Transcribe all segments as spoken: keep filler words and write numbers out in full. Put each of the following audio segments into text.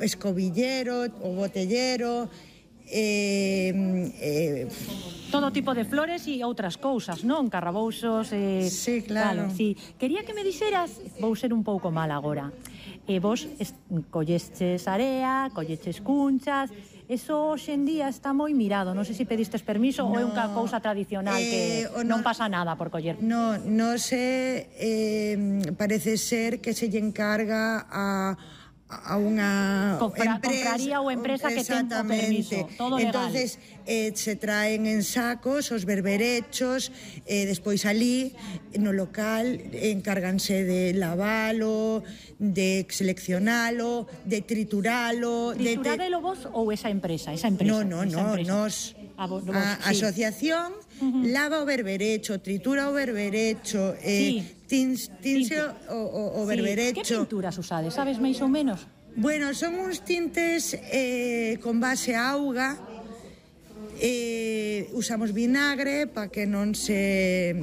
escobillero, o botellero, eh, eh, todo tipo de flores e outras cousas, non? Carrabouxos, eh, sí, claro. Vale, sí. Quería que me dixeras, vou ser un pouco mal agora. E vos collestes area, colleches cunchas, eso hoxe en día está moi mirado. Non sei se pedistes permiso no, ou é unha cousa tradicional eh, que non no, pasa nada por coller. No, non sei, eh, parece ser que se lle encarga a a unha Compra, empresa, compraría ou empresa que ten o permiso, todo legal. Entonces eh, se traen en sacos os berberechos, eh, despois ali no local encárganse de lavalo, de seleccionalo, de trituralo. Trituradelo de... vos ou esa empresa? Esa empresa No, no, esa no, empresa. nos a, vos, vos, a sí. asociación uh-huh. lava o berberecho, tritura o berberecho, eh, sí. Tins, tinse o, o, o berberecho. Sí. Que pinturas usades, sabes máis ou menos? Bueno, son uns tintes eh, con base a auga, eh, usamos vinagre para que non se...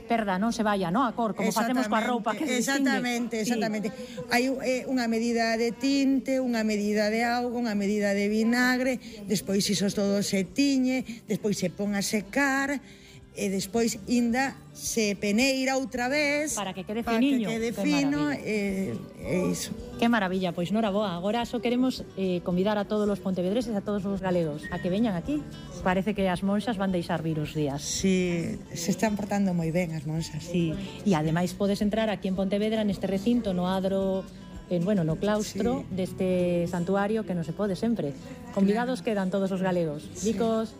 Perda, non se vaya, no? A cor, como facemos coa roupa que se Exactamente, exactamente. Sí. Hai eh, unha medida de tinte, unha medida de auga, unha medida de vinagre, despois iso todo se tiñe, despois se pon a secar, e despois inda se peneira outra vez para que quede finiño, para que quede fino e, e iso. Que maravilla, pois nora boa. Agora só queremos eh, convidar a todos os pontevedreses, a todos os galegos a que veñan aquí. Parece que as monxas van deixar vir os días. Sí, se están portando moi ben as monxas. Sí, e ademais podes entrar aquí en Pontevedra neste recinto, no adro, en, bueno, no claustro sí. deste santuario que non se pode sempre. Convidados claro. Quedan todos os galegos. Sí. Vicos...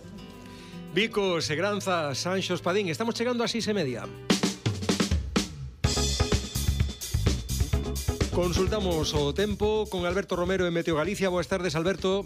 Vicos, Segranza, Sanxo Espadín. Estamos chegando a seis e media. Consultamos o tempo con Alberto Romero en Meteo Galicia. Boas tardes, Alberto.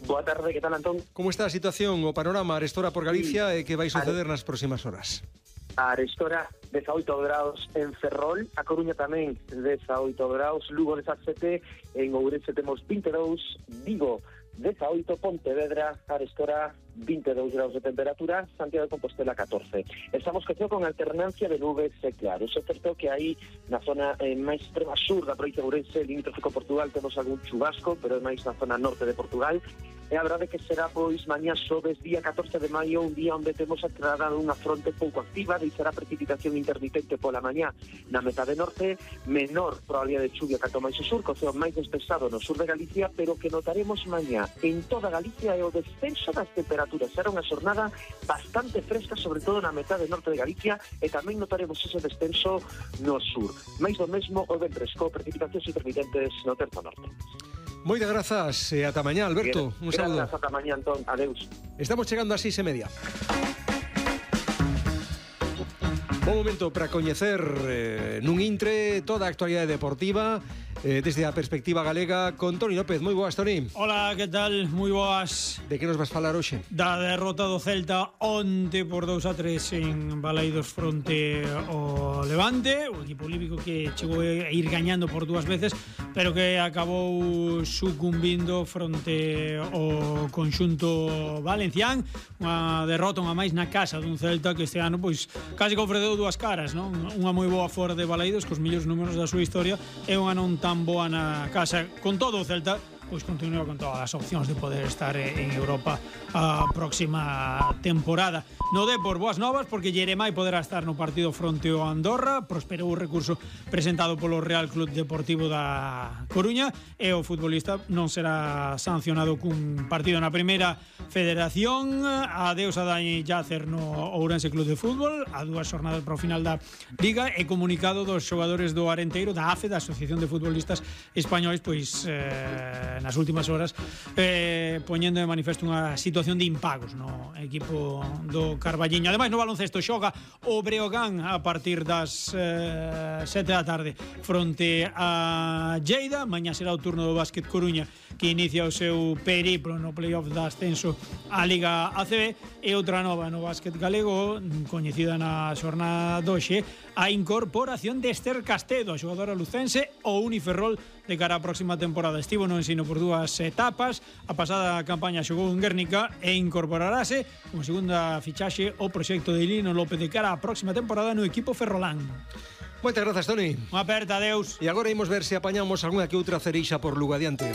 Boa tarde, que tal, Antón? Como está a situación, o panorama arestora por Galicia sí. e que vai suceder nas próximas horas? A arestora dezaoito graus en Ferrol, a Coruña tamén dezaoito graus, Lugo dezasete, en Ourense temos vinte e dous, Vigo dezaoito, Pontevedra, arestora vinte e dous graus de temperatura, Santiago de Compostela catorce. Estamos que con alternancia de nubes e claros. É certo que aí na zona eh, máis extrema sur da provincia de Ourense, limítrofe con Portugal, temos algún chubasco, pero é máis na zona norte de Portugal. E a verdade que será, pois, mañá xoves, día catorce de maio, un día onde temos a entrada dunha fronte pouco activa, deixará precipitación intermitente pola mañá na metade norte, menor probabilidade de chuvia canto máis o sur, co ceo máis despexado no sur de Galicia, pero que notaremos mañá en toda Galicia é o descenso das temperaturas. Será unha xornada bastante fresca, sobre todo na metade norte de Galicia, e tamén notaremos ese descenso no sur. Mais do mesmo o ventres, co precipitacións intermitentes no terzo norte. Moitas grazas e ata mañá, Alberto. Un saludo. Grazas, ata mañá, Antón. Adeus. Estamos chegando a seis e media. Bom momento para coñecer eh, nun intre toda a actualidade deportiva eh, desde a perspectiva galega con Toni López. Moi boas, Toni. Hola, que tal? Moi boas. De que nos vas falar hoxe? Da derrota do Celta onte por dous a tres en Balaidos fronte ao Levante, o equipo olímpico que chegou a ir gañando por dúas veces, pero que acabou sucumbindo fronte ao conxunto valencián. Unha derrota unha máis na casa dun Celta que este ano pois casi que ofreceu dúas caras, non? Unha moi boa fora de Balaidos cos millóns números da súa historia e unha non tan boa na casa. Con todo o Celta pois continúa con todas as opcións de poder estar en Europa a próxima temporada. No Depor, boas novas, porque Jeremai poderá estar no partido fronte ao Andorra. Prosperou o recurso presentado polo Real Club Deportivo da Coruña e o futbolista non será sancionado cun partido na primeira federación. Adeus a Dani Jácer no Ourense Club de Fútbol, a dúas xornadas para o final da Liga, e comunicado dos xogadores do Arenteiro, da A F E, da Asociación de Futbolistas Españois, pois eh, nas últimas horas eh, poñendo de manifesto unha situación de impagos no equipo do Carballiño. Ademais, no baloncesto xoga o Breogán a partir das eh, sete da tarde fronte a Lleida. Mañá será o turno do Básquet Coruña, que inicia o seu periplo no playoff da ascenso á Liga A C B. E outra nova no básquet galego, coñecida na xornada doxe, a incorporación de Esther Castedo, a xogadora lucense, o Uniferrol de cara á próxima temporada. Estivo no ensino por dúas etapas, a pasada campaña xogou en Guernica e incorporarase como segunda fichaxe o proxecto de Lino López de cara á próxima temporada no equipo ferrolán. Moitas grazas, Toni. Unha aperta, adeus. E agora imos ver se apañamos algunha que outra cerixa por Lugo adiante.